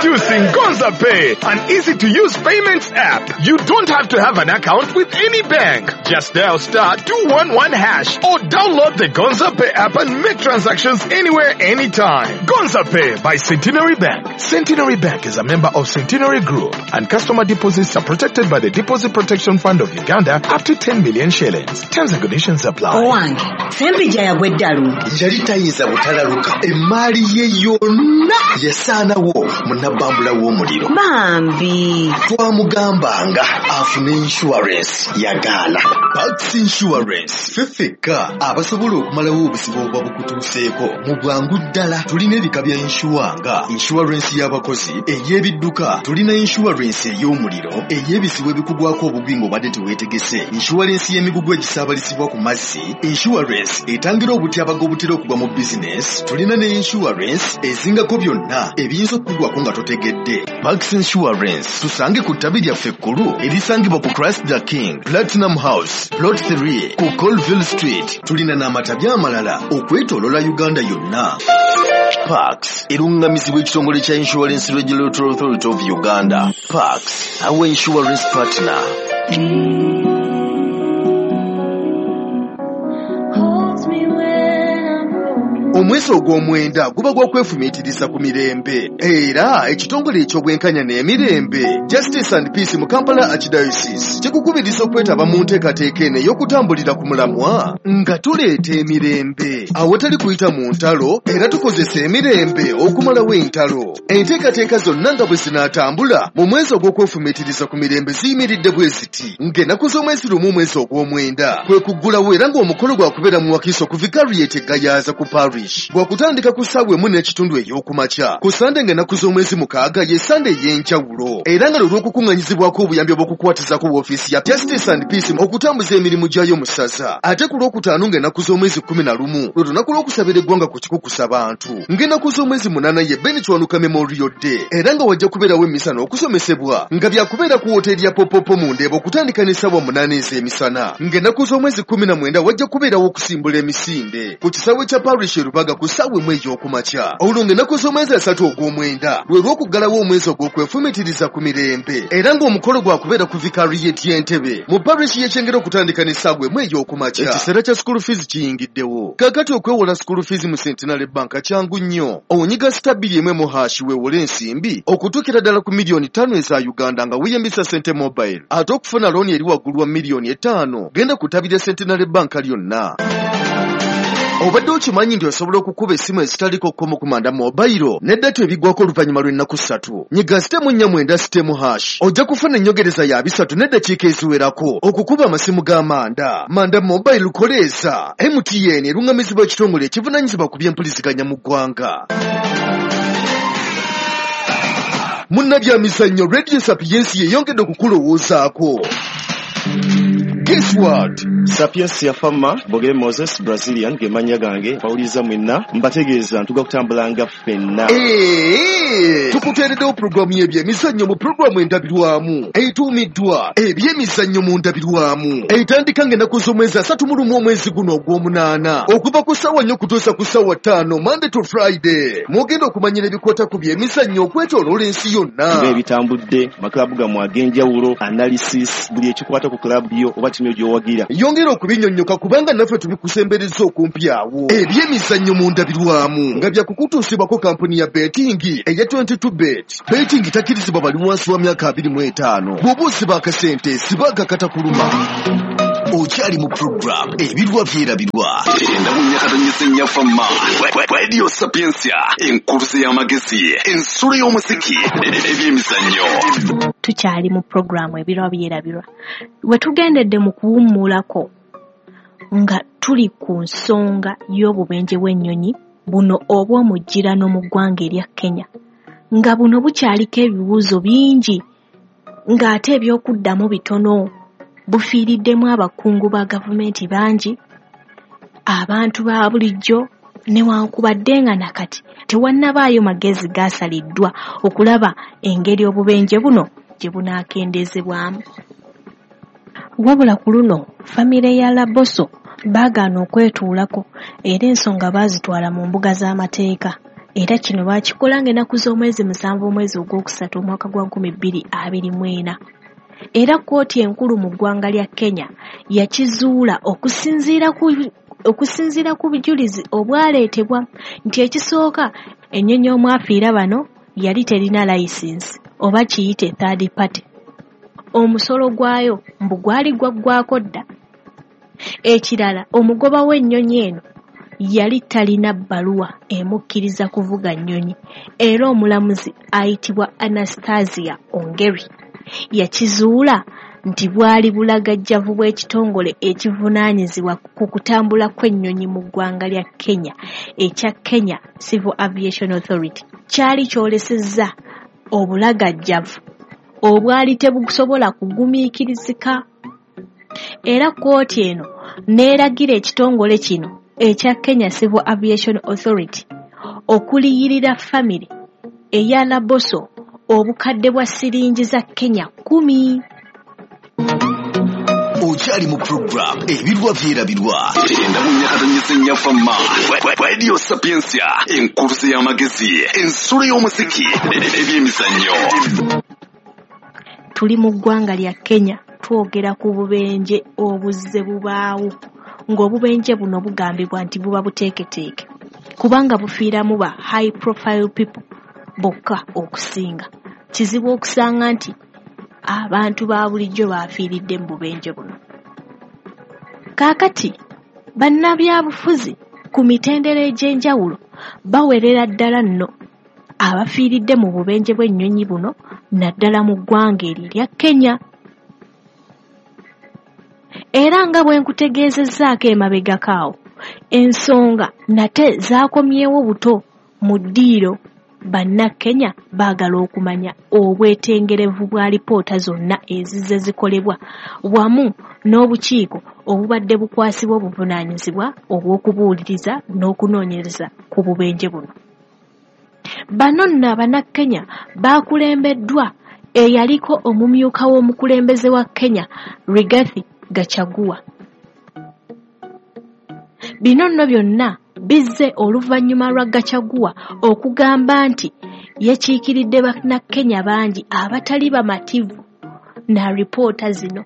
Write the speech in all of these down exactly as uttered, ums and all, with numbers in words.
Introducing Gonza Pay, an easy-to-use payments app. You don't have to have an account with any bank. Just dial star two one one hash or download the Gonza Pay app and make transactions anywhere, anytime. Gonza Pay by Centenary Bank. Centenary Bank is a member of Centenary Group, and customer deposits are protected by the Deposit Protection Fund of Uganda up to ten million shillings. Terms and conditions apply. Owange, Sempijja yagwa eddalu. Yali tayinza butalaluka. Emmaali ye yonna yasaanawo mu nabbambula w'omuliro. Bambi. Twamugambanga afune insurance yagaana. Pax Insurance ffe ffekka abasobola okumalawo obuzibu obuba bukutuuseeko mu bwangu ddala. Tulina ebika bya insure nga insurance y'abakozi, ey'ebidduka, tulina insurance ey'omuliro, ey'ebizibu ebikugwako obugwi ng'obadde teweetegese, insurance y'emigugu egisaabalizibwa ku mazzi, insurance etangira obutyabaga obutera okugwa mu bizinesi, tulina ne insurance ezingako byonna ebiyinza okukugwako nga totegedde. Pax Insurance tusange ku ttabi lyaffe ekkulu erisangibwa ku Christ the King Platinum House Plot three ku Colville Street. Tulina n'amatabi amalala okwetooloola Uganda yonna. Pax erungamizibwa ekitongole kya Insurance Regulatory Authority of Uganda. Pax, our insurance partner. Omwezi ogw'omwenda guba gwa kwefumiitiriza ku mirembe, era ekitongole eky'obwenkanya n'emirembe Justice and Peace mu Kampala Archdiocese kikukubiriza okwetaba mu nteekateeka eno ey'okutambulira ku mulamwa nga tuleeta emirembe awatali kuyita mu ntalo, era tukozesa emirembe okumalawo entalo. Enteekateeka zonna nga bwe zinaatambula mu mwezi ogw'okwefumiitiriza ku mirembe ziyimiridde bwe ziti: ng'ennaku z'omwezi lumu omwezi ogw'omwenda kwe kuggulawo, era ng'omukolo gwakubeera mu Wakiso ku Vicariate Gayaza ku Parish gwakutandika ku ssaawa emu n'ekitundu ey'okumakya. Ku Sande ng'ennaku z'omwezi mukaaga ye Sande ey'enjawulo, era nga lwe lw'okukuŋŋanyizibwako obuyambi obw'okukwatizako woofiisi ya Justice and Peace okutambuza emirimu gyayo mu ssaza. Ate ku lwokutaano ng'ennaku z'omwezi kkumi na lumu lwe lunaku lw'okusabira eggwanga ku kikukusa bantu. Ng'ennaku z'omwezi munaana ye Ben Kiwanuka Memorial Day, era nga wajja kubeerawo emmisa n'okusomesebwa nga byakubeera ku wooteeri ya Popopo mu Ndeeba okutandika n'essaawa munaana ez'emisana. Ng'ennaku z'omwezi kkumi na mwenda wajja kubeerawo okusimbula emisinde ku kisaawe kya Parish e Rubaga ku ssaawa emu ey'okumakya. Olwo ng'ennaku z'omwezi asatu ogw'omwenda lwe lw'okuggalawo omwezi ogw'okwefumiitiriza ku mirembe, era ng'omukolo gwakubeera ku Vicariate y'Entebbe mu parish y'e Kyengera okutandika n'essaawa emu ey'okumakya. Ekiseera kya school fees kiyingiddewo. Kaakati okwewola school fees mu Centenary Bank kyangu nnyo. Onyiga star bbiri emu emu hash weewole ensimbi okutuukira ddala ku miliyoni ttaano eza Uganda nga weeyambisa Sente Mobile. Ate okufuna looni eri waggulu wa miliyoni etaano genda ku ttabi lya Centenary Bank lyonna. Obadde okimanyi nti osobola okukuba essimu ezitaliko kkomo ku Manda Mobile ne data ebigwako oluvannyuma lw'ennaku ssatu. Nyiga star emu nnya mwenda star emu hash ojja kufuna ennyongereza ya bisatu n'eddakiika eziwerako okukuba amasimu ga Manda. Manda Mobile koleeza. M T N erungamizibwa ekitongole ekivunaanyizibwa ku by'empuliziganya mu ggwanga. Munnabyamizannyo Radio Sapiensia yeyongedde okukulowoozaako. Guess what? Sapiensia Fama, Bogere Moses, Brazilian, ge mannya gange, bawuliza mwenna, mbategeeza ntuga kutambulanga ffenna. Eee, tukuteereddewo pulogulaamu y'ebyemizannyo mu pulogulaamu endabirwamu etuumiddwa ebyemizannyo mu ndabirwamu, etandika ng'ennaku z'omwezi asatu mu lumu omwezi guno ogw'omunaana okuva ku ssaawa nnya okutuusa ku ssaawa ttaano Monday to Friday. Mwogenda okumanyira ebikwata ku byemizannyo okwetooloola ensi yonna, nga ebitambudde, maklabu gammwe ag'enjawulo, analysis, buli ekikwata ku klabu yo oba ttiimu gy'owagira. Yongera okubinnyonnyoka kubanga naffe tubikusembereza okumpi awo. Ebyemizannyo mu ndabirwamu nga byakukutuusibwako kampuni ya betting eya twenty-two bet. Betting takkirizibwa bali wansi wa myaka abiri mu etaano. Bw'oba osiba akasente sibaga katakuluma. Okyali mu program ebirwa byerabirwa. Endabunyakatonyesa Fama Radio Sapiensia, enkuluze y'amagezi, ensulo y'omuziki, ebyemizannyo. Tukyali mu programu ebirwa byerabirwa. We tugendedde mu kuwummulako nga tuli ku nsonga y'obubenje bw'ennyonyi buno obw'omujjirano mu ggwanga erya Kenya, nga buno bukyaliko ebibuuzo bingi ng'ate eby'okuddamu bitono. Bufiiriddemu abakungu ba gavumenti bangi, abantu ba bulijjo, newankubadde nga nakati tewannabaayo magezi gaasaliddwa okulaba engeri obubenje buno gye bunaakendeezebwamu. Wabula ku luno famire ya Laboso baagaana okwetuulako era ensonga baazitwala mu mbuga z'amateeka Era kino baakikola ng'ennaku z'omwezi musanvu omwezi ogwokusatu omwaka gwa nkumi bbiri abiri mu ena. Era kkooti enkulu mu ggwanga lya Kenya yakizuula okusinziira ku okusinziira ku bujulizi obwaleetebwa nti ekisooka ennyonyi omwafiira bano yali terina layisinsi oba kiyite third party. Omusolo gwayo mbu gwali gwaggwako dda. Ekirala, omugoba w'ennyonyi eno yali talina bbaluwa emukkiriza kuvuga nnyonyi, era omulamuzi ayitibwa Anastasia Ongeri yakizuula nti bwali bulagajjavu bw'ekitongole ekivunaanyizibwa ku kutambula kw'ennyonyi mu ggwanga lya Kenya ekya Kenya Civil Aviation Authority kyali kyolesezza obulagajjavu obwali tebusobola kugumiikirizika. Era kkooti eno n'eragira ekitongole kino ekya Kenya Civil Aviation Authority okuliyirira famire eya Laboso obukadde bwa siringi za Kenya kkumi. Okyali mu program Ebirwa Byerabirwa kyenda mu nnya katonyeze nnya Fama Radio Sapientia, enkuluze y'amagezi, ensulo y'omuziki, ebyemizannyo. Tuli mu ggwanga lya Kenya, twogera ku bubenje obuzze bubaawo, ng'obubenje buno bugambibwa nti buba buteeketeeke kubanga bufiiramu ba high profile people bokka okusinga. Kizibu okusanga nti abantu ba bulijjo bafiiridde mu bubenje buno. Kaakati bannabyabufuzi ku mitendera egy'enjawulo bawerera ddala nno abafiiridde mu bubenje bw'ennyonyi buno naddala mu ggwanga eryo erya Kenya. Era nga bwe nkutegeezezzaako emabegako awo, ensonga nate zaakomyewo buto mu ddiiro. Bannakenya baagala okumanya obwetengerevu bwa lipoota zonna ezizze zikolebwa wamu n'obukiiko obubadde bukwasibwa obuvunaanyizibwa obw'okubuuliriza n'okunoonyereza ku bubenje buno. Bano nno Abannakenya baakulembeddwa eyaliko omumyuka w'omukulembeze wa Kenya Rigathi Gachagua. Bino nno byonna bizze oluvannyuma lwa Gachagua okugamba nti yakiikiridde Bannakenya bangi abatali bamativu na ripoota zino.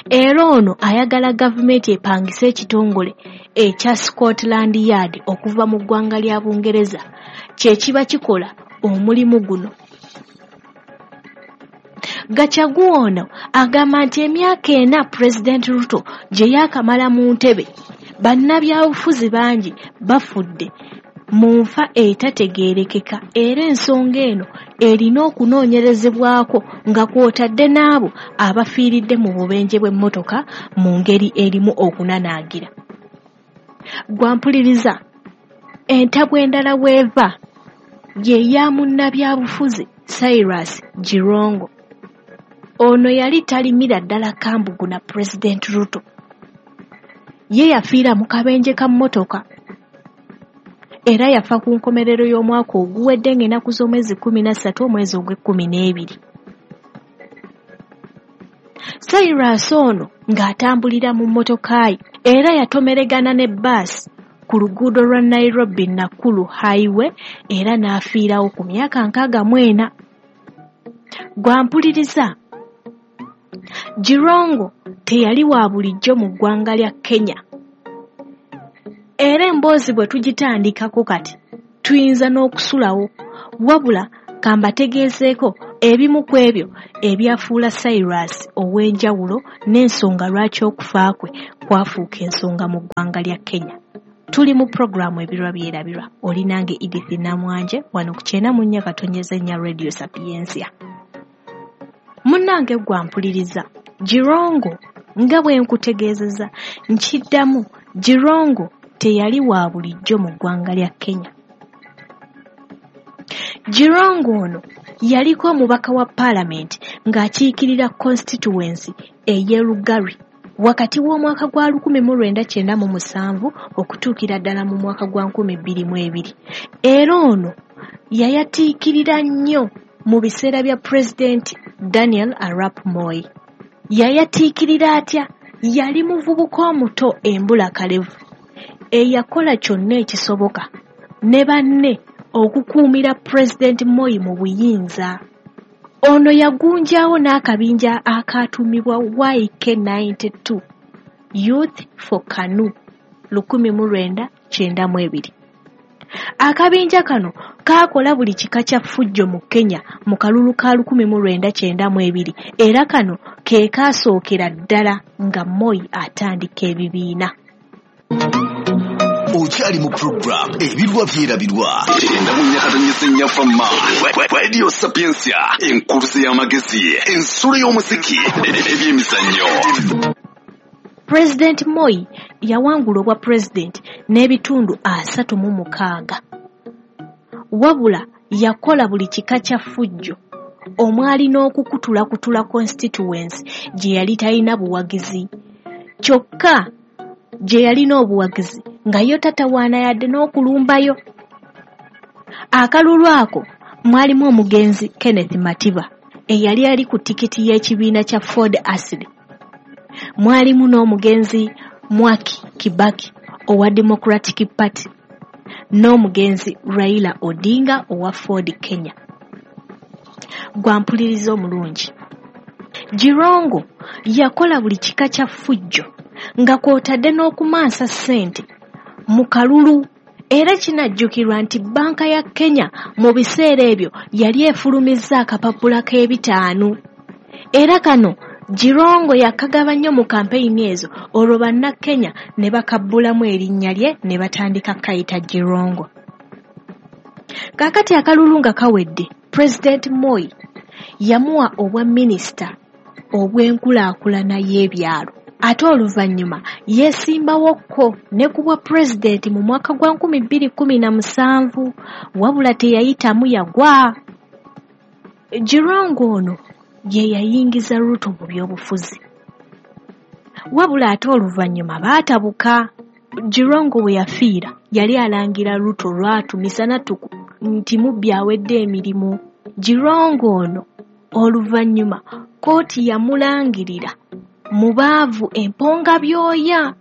Era ono ayagala gavumenti epangise ekitongole ekya Scotland Yard okuva mu ggwanga lya Bungereza kye kiba kikola omulimu guno. Gachagua ono agamba nti emyaka ena Pulezidenti Ruto gye yaakamala mu ntebe, bannabyabufuzi bangi bafudde mu nfa etategeerekeka, era ensonga eno erina okunoonyerezebwako nga kw'otadde n'abo abafiiridde mu bubenje bw'emmotoka mu ngeri erimu okunanaagira. Gwampuliriza, entabwe endala weeva ye ya munnabyabufuzi Cyrus Jirongo. Ono yali talimira ddala kambugu na Pulezidenti Ruto. Ye yafiira mu kabenje ka mmotoka era yafa ku nkomerero y'omwaka oguwedde ng'ennaku z'omwezi kkumi na ssatu omwezi ogw'ekkumi n'ebiri. Cyrus ono ng'atambulira mu mmotoka ye era yatomeregana ne bbaasi ku luguudo lwa Nairobi Nakuru Highway era n'afiirawo ku myaka nkaaga mu ena. Gwampuliriza, Jirongo teyali wa bulijjo mu ggwanga lya Kenya. Era emboozi bwe tugitandikako kati tuyinza n'okusulawo, wabula kambategeezeeko ebimu ku ebyo ebyafuula Cyrus ow'enjawulo n'ensonga lwaki okufa kwe kwafuuka ensonga mu ggwanga lya Kenya. Tuli mu pulogulaamu Ebirwa Byerabirwa, oli nange Edith Namwanje wano ku kyenda mu nnya katonyeze nnya Radio Sapientia. Munnange gwampuliriza, Jirongo nga bwe nkutegeezezza nkiddamu, Jirongo teyali wa bulijjo mu ggwanga lya Kenya. Jirongo ono yaliko omubaka wa paalamenti ng'akiikirira constituency ey'e Lugari wakati w'omwaka gwa lukumi mu lwenda kyenda mu musanvu okutuukira ddala mu mwaka gwa nkumi bbiri mu ebiri. Era ono yayatiikirira nnyo mu biseera bya Pulezidenti Daniel Arap Moi. Yayatiikirira atya? Yali muvubuka omuto embulakalevu eyakola kyonna ekisoboka ne banne okukuumira Pulezidenti Moi mu buyinza. Ono yagunjawo n'akabinja akaatumibwa Y K ninety-two Youth for KANU lukumi mu lwenda kyenda mu ebiri. Akabinja kano kaakola buli kika kya ffujjo mu Kenya mu kalulu ka lukumi mu lwenda kyenda mu ebiri, era kano ke kaasookera ddala nga Moi atandika ebibiina. Okyali mu program Ebirwa Byerabirwa enda mu nyakatonyese nnyafamma Radio Sapientia, enkuluze y'amagezi, ensulo y'omuziki, ebyemizannyo. President Moi yawangula obwa president n'ebitundu asatu mu mukaaga. Wabula yakola buli kika kya ffujjo omwali n'okukutulakutula constituency gye yali talina buwagizi. Kyokka gye yalina obuwagizi nga yo tatawaana yadde n'okulumbayo. Akalulu ako mwalimu omugenzi Kenneth Matiba eyali ali ku tikiti y'ekibiina kya Ford Asili. Mwalimu n'omugenzi Mwaki Kibaki owa Democratic Party n'omugenzi Raila Odinga owa Ford Kenya. Gwampuliriza omulungi, Jirongo yakola buli kika kya ffujjo nga kw'otadde n'okumansa ssente mu kalulu, era kinajjukirwa nti bbanka ya Kenya mu biseera ebyo yali efulumizza akapapula k'ebitaano, era kano Jirongo yakagaba nnyo mu kampeyini ezo, olwo bannakenya ne bakabbulamu erinnya lye ne batandika kayita Jirongo. Kaakati akalulu nga kawedde, President Moi yamuwa obwa minisita obw'enkulaakulana y'ebyalo, ate oluvannyuma yeesimbawokko ne ku bwa pulezidenti mu mwaka gwa nkumi bbiri kkumi na musanvu, wabula teyayitamu yagwa. Jirongo ono ye yayingiza Ruto mu byobufuzi, wabula ate oluvannyuma baatabuka. Jirongo we yafiira yali alangira Ruto lwatu misana ttuku nti mubbi awedde emirimu. Jirongo ono oluvannyuma kkooti yamulangirira mubaavu emponga byoya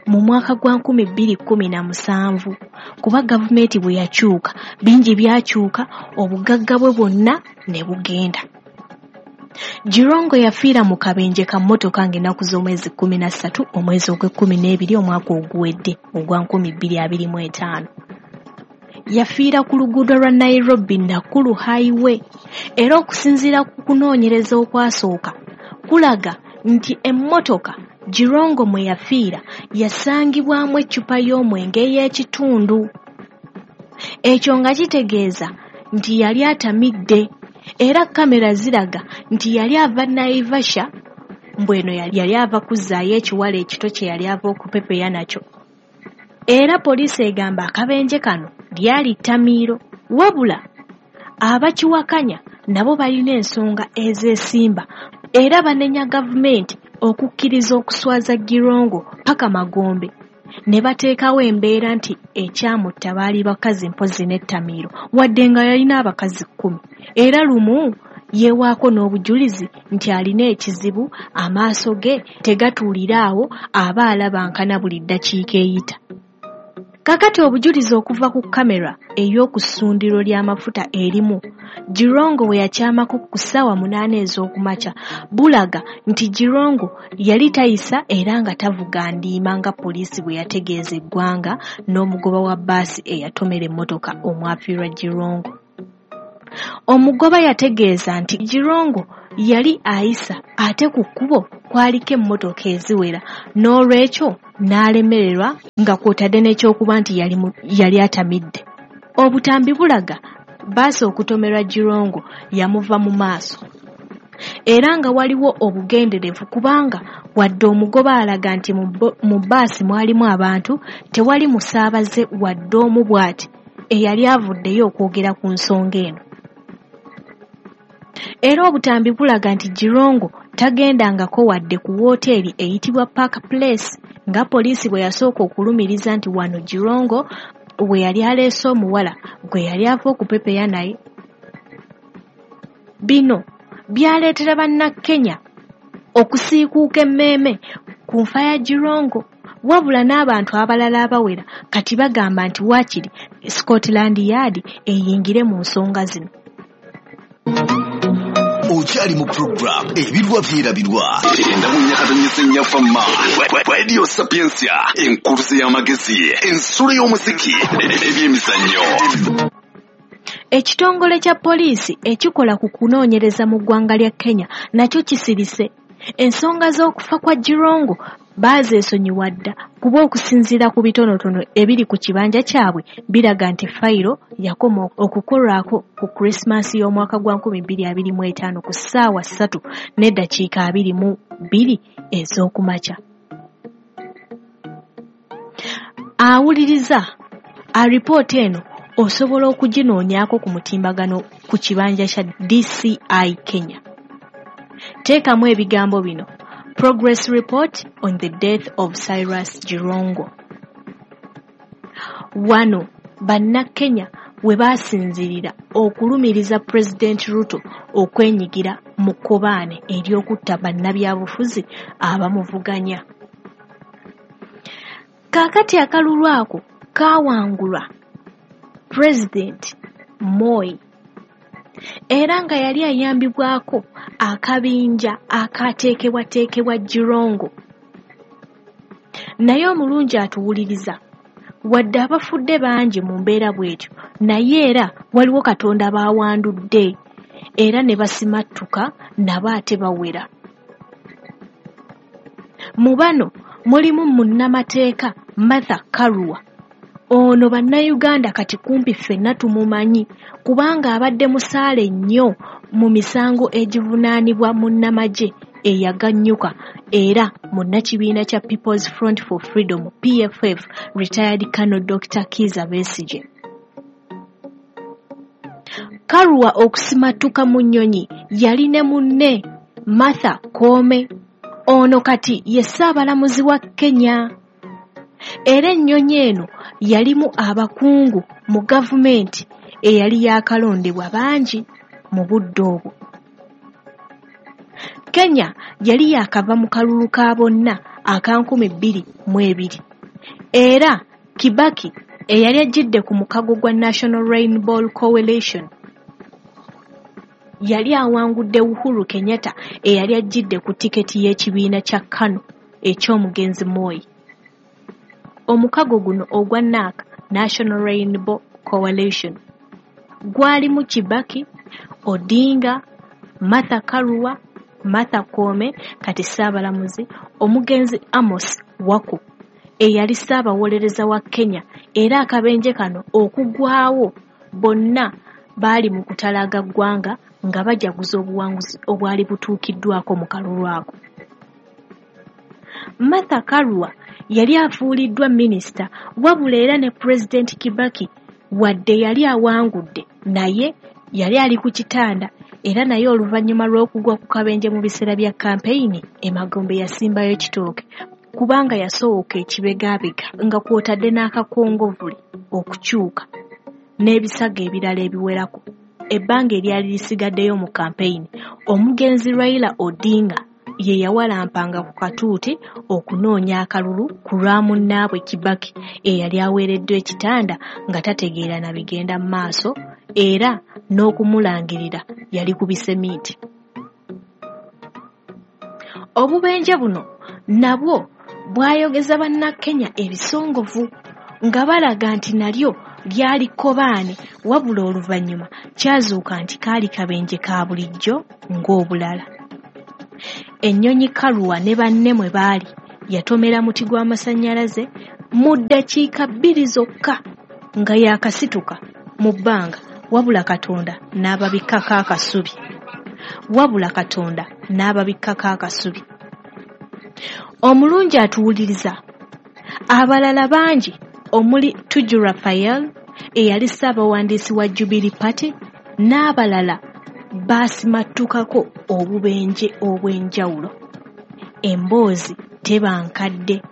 mu mwaka gwa nkumi bbiri kkumi na musanvu, kuba gavumenti bwe yakyuka bingi byakyuka, obugagga bwe bwonna ne bugenda. Jirongo yafiira mu kabenje ka mmotoka ng'ennaku z'omwezi kkumi na ssatu omwezi ogw'ekkumi n'ebiri omwaka oguwedde ogwa nkumi bbiri abiri mu etaano. Yafiira ku luguudo lwa Nairobi Nakuru Highway, era okusinziira ku kunoonyereza okwasooka kulaga nti emmotoka Jirongo mwe yafiira yasangibwamu eccupa y'omwenge ey'ekitundu. Ekyo nga kitegeeza nti yali atamidde, era kamera ziraga nti yali ava Naivasha, mbw eno yali ava kuzzaayo ekiwala ekito kye yali ava okupepeya nakyo. Era poliisi egamba akabenje kano lyali ttamiiro, wabula abakiwakanya nabo balina ensonga ezeesimba, era banenya gavumenti okukkiriza okuswaza Jirongo paka magombe, ne bateekawo embeera nti ekyamutta baali bakazi mpozzi n'ettamiiro, wadde nga yalina abakazi kkumi. Era lumu yeewaako n'obujulizi nti alina ekizibu, amaaso ge tegatuulira awo, aba alaba nkana buli ddakiika eyita. Kaakati obujulizi okuva ku kamera ey'oku ssundiro ly'amafuta erimu Jirongo we yakyamako ku ssaawa munaana ez'okumakya bulaga nti Jirongo yali tayisa era nga tavuga ndiima nga poliisi bwe yategeeza eggwanga n'omugoba wa bbaasi eyatomera emmotoka omwafiirwa Jirongo. Omugoba yategeeza nti Jirongo yali ayisa ate ku kkubo kwaliko emmotoka eziwera, n'olwekyo n'alemererwa nga kw'otadde n'ekyokuba nti yali, yali atamidde. Obutambi bulaga bbaasi okutomerwa Jirongo yamuva mu maaso, era nga waliwo obugenderevu kubanga wadde omugoba alaga nti mu bbaasi mwalimu abantu, tewali musaabaze wadde omu bw'ati eyali avuddeyo okwogera ku nsonga eno. Era obutambi bulaga nti Jirongo tagendangako wadde ku wooteeri eyitibwa Park Place nga poliisi bwe yasooka okulumiriza nti wano Jirongo we yali aleese omuwala gwe yali ava okupepeya naye. Bino byaleetera bannakenya okusiikuuka emmeeme ku nfa ya Jirongo, Wabula n'abantu abalala abawera kati bagamba nti waakiri Scotland Yard eyingire mu nsonga zino. Okyali mu program Ebirwa Byerabirwa enda mu nyakatonyese nnyafamma Radio Sapientia, enkuluze y'amagezi, ensulo y'omuziki, ebyemizannyo. Ekitongole kya poliisi ekikola ku kunoonyereza mu ggwanga lya Kenya nakyo kisirise. Ensonga z'okufa kwa Jirongo baazeesonyiwa dda kuba okusinziira ku bitonotono ebiri ku kibanja kyabwe biraga nti fayiro yakoma okukolwako ku Christmas y'omwaka gwa nkumi bbiri abiri mu etaano ku ssaawa ssatu n'eddakiika abiri mu bbiri ez'okumakya. Awuliriza alipoota eno osobola okuginoonyaako ku mutimbagano ku kibanja kya D C I Kenya. Teekamu ebigambo bino: Progress report on the death of Cyrus Jirongo. Wano bannakenya we baasinziirira okulumiriza Pulezidenti Ruto okwenyigira mu kkobaane ery'okutta bannabyabufuzi abamuvuganya. Kaakati akalulu ako kaawangulwa Pulezidenti Moi, era nga yali ayambibwako akabinja akateekebwateekebwa Jirongo. Naye omulungi atuwuliriza, wadde abafudde bangi mu mbeera bw'etyo, naye era waliwo Katonda baawandudde era ne basimattuka nabo ate bawera. Mu bano mulimu munnamateeka Martha Karua. Ono bannayuganda kati kumpi ffenna tumumanyi kubanga abadde musaale nnyo mu misango egivunaanibwa munnamagye eyaganyuka era munnakibiina kya People's Front for Freedom P F F retired Colonel Doctor Kizza Besigye. Karua okusimattuka mu nnyonyi yali ne munne Martha Koome. Ono kati ye ssaabalamuzi wa Kenya. Era ennyonyi eno yalimu abakungu mu gavumenti eyali yaakalondebwa bangi mu budde obwo. Kenya yali yaakava mu kalulu ka bonna aka nkumi bbiri mu ebiri. Era Kibaki eyali ajjidde ku mukago gwa National Rainbow Coalition yali awangudde Uhuru Kenyatta eyali ajjidde ku tiketi y'ekibiina kya KANU eky'omugenzi Moi. Omukago guno ogwa N A C, National Rainbow Coalition, gwalimu Kibaki, Odinga, Martha Karua, Martha Koome kati ssaabalamuzi, omugenzi Amos Wako eyali ssaabawolereza wa Kenya, era akabenje kano okugwawo bonna baali mu kutalaga ggwanga nga bajaguza obuwanguzi obwali butuukiddwako mu kalulu ako. Martha Karua yali afuuliddwa minisita, wabula era ne Pulezidenti Kibaki wadde yali awangudde naye yali ali ku kitanda, era naye oluvannyuma lw'okugwa ku kabenje mu biseera bya kampeyini emagombe yasimbayo kitooke kubanga yasooka ekibegaabega nga kw'otadde n'akakongovule okukyuka n'ebisago ebirala ebiwerako. Ebbanga eryali lisigaddeyo mu kampeyini, omugenzi Raila Odinga ye yawalampanga ku katuuti okunoonya akalulu ku lwa munnaabwe Kibaki eyali aweereddwa ekitanda nga tategeera na bigenda mu maaso, era n'okumulangirira yali ku bisemiiti. Obubenje buno nabwo bwayogeza bannakenya ebisongovu nga balaga nti nalyo lyali kkobaane, wabula oluvannyuma kyazuuka nti kaali kabenje ka bulijjo ng'obulala. Ennyonyi Karua ne banne mwe baali yatomera muti gw'amasannyalaze mu ddakiika bbiri zokka nga yaakasituka mu bbanga, wabula Katonda n'ababikkako akasubi. Wabula Katonda n'ababikkako akasubi. Omulungi atuwuliriza, abalala bangi omuli Tuju Raphael eyali ssaabawandiisi wa Jubilee Party n'abalala baasimattukako obubenje obw'enjawulo. Emboozi teba nkadde.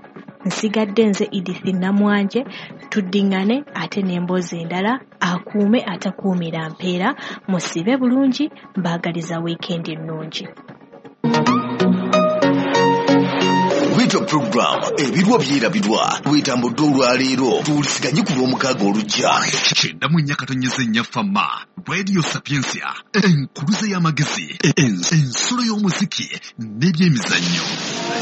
Nsigadde nze Edith Namwanje, tuddiŋŋane ate n'emboozi endala. Akuume atakuumira mpeera, musibe bulungi, mbaagaliza wiikendi ennungi. Bwetyo program Ebirwa Byerabirwa bwetambudde olwaleero. Tuwuliziganye ku Lwomukaaga olujja. Kyenda mu nnya katonyeze nnya Fama Radio Sapientia, enkuluze y'amagezi, ensulo y'omuziki n'ebyemizannyo.